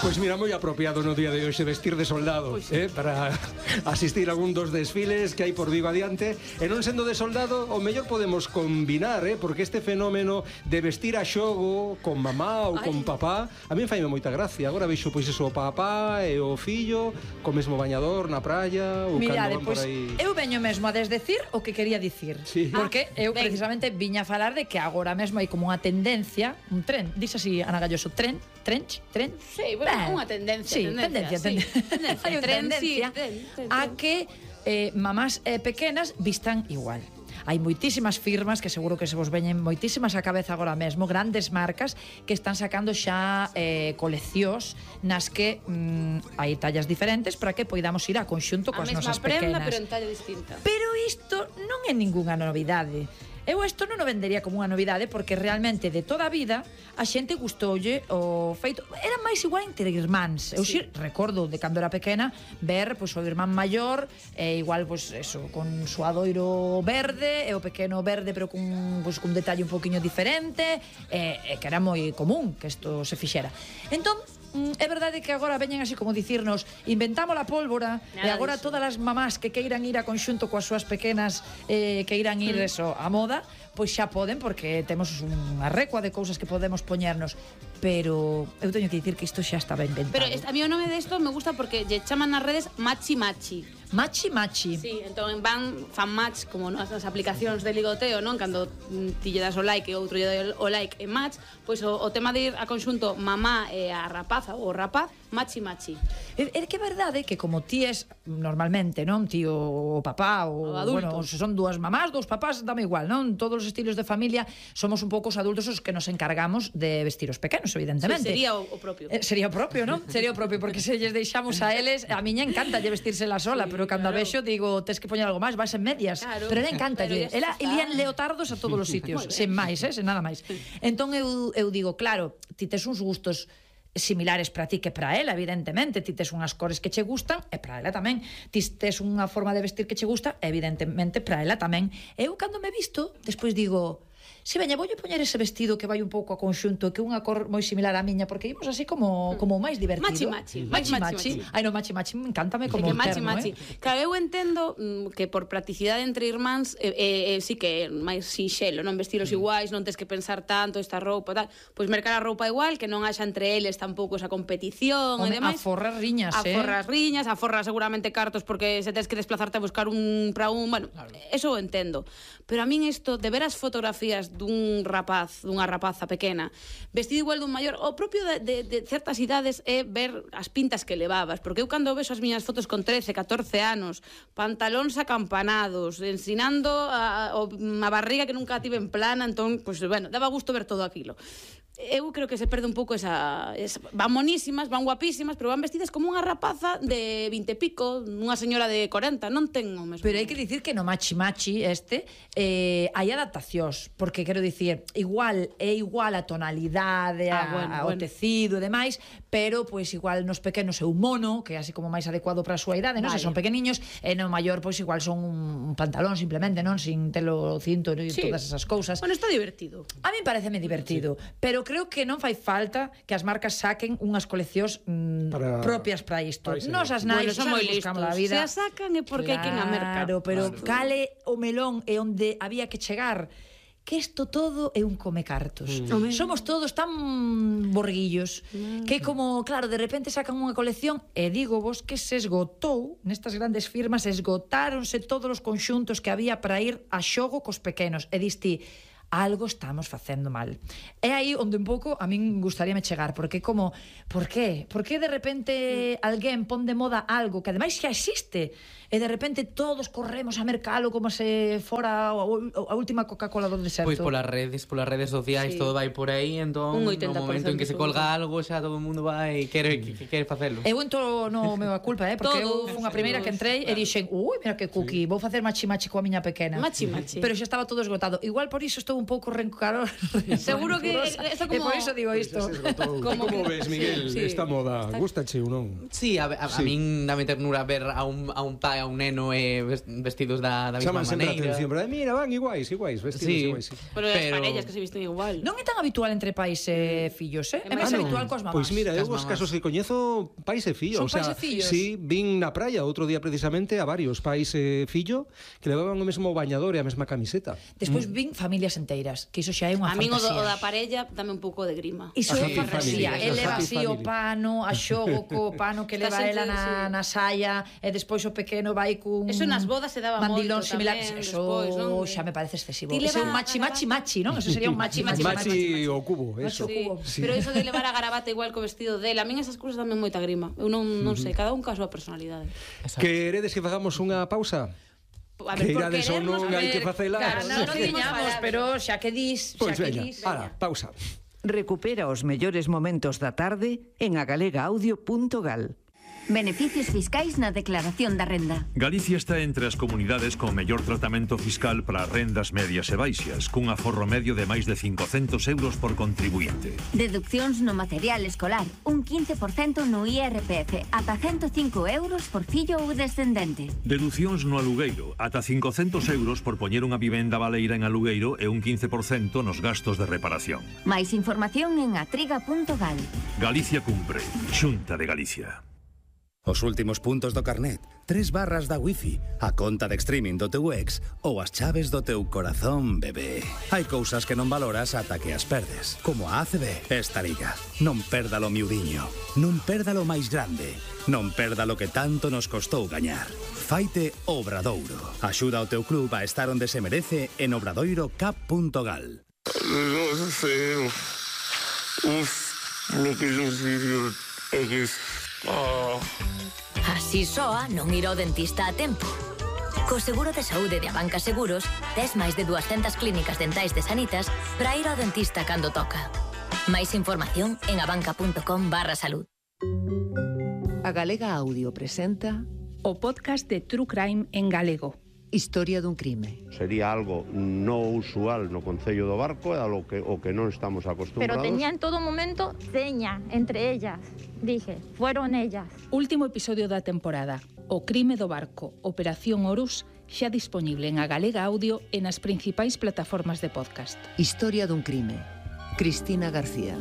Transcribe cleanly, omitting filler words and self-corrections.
Pois mira, moi apropiado no día de hoxe vestir de soldado, para asistir a algún dos desfiles que hai por Vigo adiante. E non sendo de soldado, o mellor podemos combinar, porque este fenómeno de vestir a xogo con mamá ou con papá, a mí faime moita gracia. Agora vexo pois eso, o papá e o fillo co mesmo bañador na praia ou Mirade, cando van pois por aí. eu veño mesmo a desdecir o que quería dicir, porque eu precisamente viña a falar de que agora mesmo hai como unha tendencia, un tren, dixe así Ana Galloso, tren. Sí, bueno, unha tendencia. Sí, tendencia. Hai unha tendencia a que mamás pequenas vistan igual. Hai moitísimas firmas que seguro que se vos veñen moitísimas a cabeza agora mesmo, grandes marcas que están sacando xa coleccións nas que hai tallas diferentes para que poidamos ir a conxunto coas nosas pequenas. A mesma prenda, pero en talla distinta. Pero isto non é ningunha novidade. Eu isto non o vendería como unha novidade porque realmente de toda a vida a xente gustoulle o feito. Era máis igual entre irmáns. Eu sí recordo de cando era pequena ver pois o irmán maior igual pois eso con suadoiro verde e o pequeno verde pero cun detalle un poquinho diferente que era moi común que isto se fixera. Entón é verdade que agora veñen así como dicirnos inventamos a pólvora e agora todas as mamás que queiran ir a conxunto coas súas pequenas que irán ir eso a moda, pois xa poden porque temos unha recua de cousas que podemos poñernos, pero eu teño que dicir que isto xa estaba inventado. Pero a mí o nome desto me gusta porque lle chaman nas redes machi. Sí, entón fan match como nas aplicacións de ligoteo, non? Cando ti lle das o like e outro lle dá o like e match, pois o tema de ir a conxunto mamá e a rapaza ou rapaz, machi. É que é verdade que como ti es normalmente, non? Tío o papá ou bueno, se son dúas mamás, dous papás, dame igual, non? Todos os estilos de familia somos un pouco os adultos os que nos encargamos de vestir os pequenos, evidentemente. Sí, sería o propio. Sería o propio, non? Sería o propio, porque se lles deixamos a eles, a miña encanta lle vestírsela sola, pero cando a vexo digo, tes que poñer algo máis, vais en medias. Pero ela encanta, ela ilían leotardos a todos os sitios, sen máis, sen nada máis. Entón eu digo, claro, ti tes uns gustos similares para ti que para ela, evidentemente. Ti tes unhas cores que che gustan e para ela tamén. Ti tes unha forma de vestir que che gusta, evidentemente para ela tamén. Eu cando me visto, despois digo, si veña, voulle poñer ese vestido que vai un pouco a conxunto, que é unha cor moi similar á miña, porque ímos así como máis divertido. Machi. Ai, no, machi, encántame como termo, machi. Claro, eu entendo que por practicidade entre irmáns sí que é máis sinxelo, non vestiros iguais, non tes que pensar tanto esta roupa, tal, pois mercar a roupa igual, que non haxa entre eles tampouco esa competición e demais. A forras riñas, a forras seguramente cartos porque se tes que desplazarte a buscar un para un, bueno, eso o entendo. Pero a min isto de ver as fotografías dun rapaz, dunha rapaza pequena, vestido igual dun maior, o propio de certas idades é ver as pintas que levabas, porque eu cando vexo as miñas fotos con 13, 14 anos, pantalóns acampanados, ensinando a barriga que nunca tive en plana, entón, pues, bueno, daba gusto ver todo aquilo. Eu creo que se perde un pouco esa van monísimas, van guapísimas, pero van vestidas como unha rapaza de 20 e pico, unha señora de 40, non ten o mesmo. Pero hai que dicir que no machi hai adaptacións, porque quero dicir, é igual a tonalidade, o tecido e demais, pero pois igual nos pequenos é un mono, que é así como máis adecuado para a súa idade, non? Se son pequeniños, e no maior pois igual son un pantalón simplemente, non? Sin telo cinto e todas esas cousas. Bueno, está divertido. A mí pareceme divertido, pero creo que non fai falta que as marcas saquen unhas coleccións propias para isto. Nos as nais son moi listos. Se as sacan é porque hai quen a merca. Claro, pero cale o melón e onde había que chegar, que isto todo é un come cartos. Somos todos tan borguillos que como, claro, de repente sacan unha colección e digo vos que se esgotou nestas grandes firmas, esgotáronse todos os conxuntos que había para ir a xogo cos pequenos e diste algo estamos facendo mal. É aí onde un pouco a min gustaríame chegar, porque como, por qué? Por que de repente alguén pon de moda algo que ademais xa existe e de repente todos corremos a mercalo como se fora a última Coca-Cola do deserto? Pois polas redes sociais todo vai por aí, entón no momento en que se colga algo xa todo o mundo vai quere facelo. Eu entro no meu a culpa, porque eu fui a primeira que entrei e dixen, mira que cookie, vou facer machi coa miña pequena. Machi. Pero xa estaba todo esgotado. Igual por iso estou estou un pouco rencorosa. Seguro que eso como... E por iso digo isto. Como ves, Miguel, esta moda? Gústache ou non? Sí, a min dame ternura ver a un pai, a un neno vestidos da mesma Chaman sempre a maneira. atención, pero mira, van iguais, vestidos iguais. Pero as parellas que se visten igual. Non é tan habitual entre pais e fillos, é máis habitual cos mamás. Pois mira, eu os casos que coñezo, pais e fillos. Son pais e fillos? Sí, vin na praia outro día precisamente a varios pais e fillo que levaban o mesmo bañador e a mesma camiseta. Despois vin familias enteiras, que iso xa é unha A min o fantasía. da parella dame un pouco de grima. Iso é Happy fantasía. family, El leva happy así o family. pano, a xogo co pano que leva Está ela sempre, na saia, e despois o pequeno vai cun Eso nas bodas se daba mandilón moito similar. tamén, Eso despois, non? xa me parece excesivo. Ti Ese é un leva machi, non? Eso sería un machi. Machi o cubo, eso. Sí, cubo. pero eso de levar a gravata igual co vestido dela, a min esas cousas dame moita grima. Eu non sei, cada un caso a personalidade. Queredes que fagamos unha pausa? A Que por irades ou non, querernos, a hai que ver, facela. claro, Non non diñamos, pero xa que dis, Pois xa que veña, dis. ala, pausa. Recupera os mellores momentos da tarde en agalegaaudio.gal. Beneficios fiscais na declaración da renda. Galicia está entre as comunidades con mellor tratamento fiscal para rendas medias e baixas, cun aforro medio de máis de 500 euros por contribuinte. Deduccións no material escolar, un 15% no IRPF, ata 105 euros por fillo ou descendente. Deducións no alugueiro, ata 500 euros por poñer unha vivenda baleira en alugueiro e un 15% nos gastos de reparación. Máis información en atriga.gal. Galicia cumpre. Xunta de Galicia. Os últimos puntos do carnet, 3 barras da wifi, a conta de streaming do teu ex ou as chaves do teu corazón, bebé. Hai cousas que non valoras ata que as perdes, como a ACB. Esta liga, non perdalo miudiño, non perdalo máis grande, non perdalo que tanto nos costou gañar. Faite Obradoiro. Axuda ao teu club a estar onde se merece en obradoirocap.gal. Así soa non ir ao dentista a tempo. Co seguro de saúde de Abanca Seguros, tes máis de 200 clínicas dentais de Sanitas para ir ao dentista cando toca. Máis información en abanca.com/salud. A Galega Audio presenta o podcast de True Crime en galego. Historia dun crime. Sería algo non usual no Concello do Barco, é o que non estamos acostumbrados. Pero tenía en todo momento seña entre ellas. Dije, fueron ellas. Último episodio da temporada. O crime do barco, Operación Horus, xa disponible en A Galega Audio e nas principais plataformas de podcast. Historia dun crime. Cristina García.